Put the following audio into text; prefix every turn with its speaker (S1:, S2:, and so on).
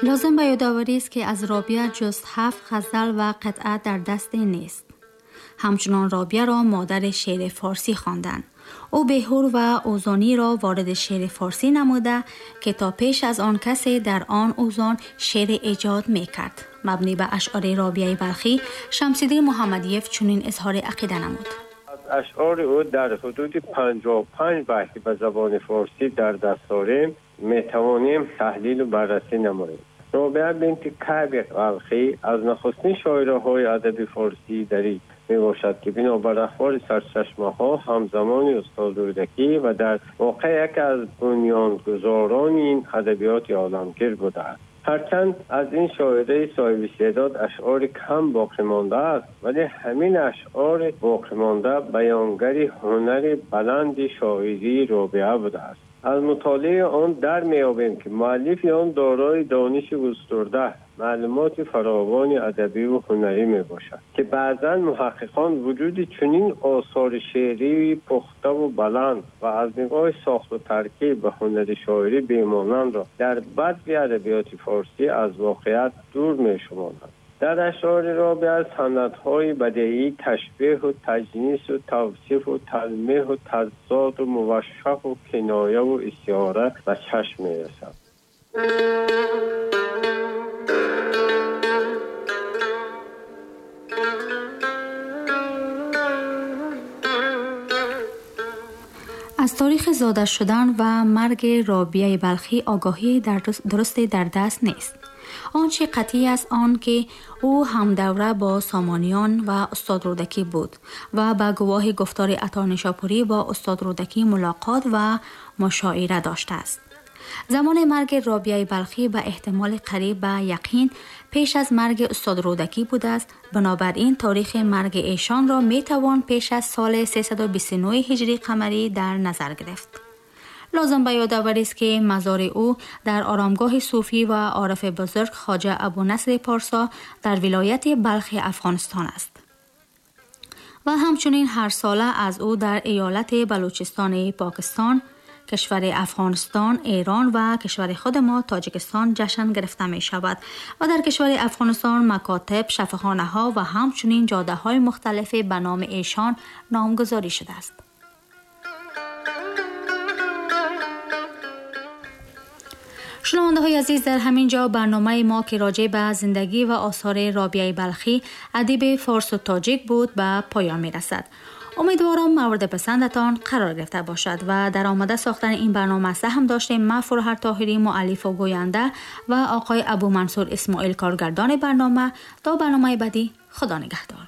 S1: Лозим ба ёдоварӣ аст, ки аз Робиа ҷуз 7 ғазал ва қитъа дар даст нест. Ҳамчунон Робиаро модари шеъри форсӣ хонданд. Ӯ беҳур ва ӯзониро вориди шеъри форсӣ намуда, ки то пеш аз он касе дар он ӯзон шеър эҷод мекард. Мабнӣ ба ашъори Робиаи Балхӣ, Шамсиддин Муҳаммадиев чунин изҳори ақида намуд.
S2: Аз ашъори ӯ дар ҳудуди 55 байт ба забони форсӣ дар даст дорем, метавонем таҳлилу баррасӣ намоем. Робиа бинти Каъби Балхӣ аз нахустин шоираҳои адаби форсии дарӣ мебошад, ки бинобар ахбори сарчашмаҳо ҳамзамони устод Рӯдакӣ ва дар воқеъ яке аз бунёдгузорони ин адабиёти оламгир будааст. Ҳарчанд аз ин шоираи соҳиби истеъдод ашъори кам боқӣ мондааст, вале ҳамин ашъори боқӣ монда баёнгари ҳунари баланди шоирии Робиа будааст. Аз мутолиаи он дар меёбем, ки муаллифи он дорои дониши густурда, маълумоти фаровони адабиву ҳунарӣ мебошад, ки баъзан муҳаққиқон вуҷуди чунин осори шеърии пухтаву баланд ва аз нигоҳи сохту таркиб ва ҳунари шоирӣ бемонандро дар бадви адабиёти форсӣ аз воқеият дур мешуморанд. Дар ашъори Робиа санъатҳои бадеӣ, ташбеҳу таҷнису тавсифу талмеҳу тазоду мувашшаҳу кинояву истиора ба чашм мерасад.
S1: Аз таърихи зода шудан ва марги Робиаи Балхӣ огоҳии дурусте дар даст нест. Он чи қатъӣ аст он ки ӯ ҳамдавра бо Сомониён ва устод Рӯдакӣ буд ва ба гувоҳи гуфтори Ато Нишопурӣ бо устод Рӯдакӣ мулоқот ва мушоира доштааст. Замони марги Робиаи Балхӣ ба эҳтимоли қариб ба яқин пеш аз марги устод Рӯдакӣ будааст. Бинобар ин таърихи марги эшонро метавон пеш аз соли 329 ҳиҷри қамарӣ дар назар гирифт. Лозим ба ёдоварӣ аст, ки мазори ӯ дар оромгоҳи сӯфӣ ва орифи бузург Хоҷа Абунасри Порсо дар вилояти Балхи Афғонистон аст ва ҳамчунин ҳар сола аз ӯ дар иёлати Балучистони Покистон, кишвари Афғонистон, Эрон ва кишвари худ мо Тоҷикистон ҷашн гирифта мешавад ва дар кишвари Афғонистон макотиб, шифохонаҳо ва ҳамчунин ҷодаҳои мухталифе ба номи эшон номгузорӣ шудааст. Шунавандаҳои азиз, дар ҳамин ҷо барномаи мо, ки роҷеъ ба зиндагӣ ва осори Робиаи Балхӣ, адиби форсу тоҷик буд, ба поён мерасад. Умедворам мавриди писандатон қарор гирифта бошад ва дар омода сохтани ин барнома саҳм доштем ман Фурӯҳар Тоҳирӣ, муаллифу гӯянда, ва оқои Абумансур Исмоил, коргардони барнома. То барномаи баъдӣ, Худо нигаҳдор.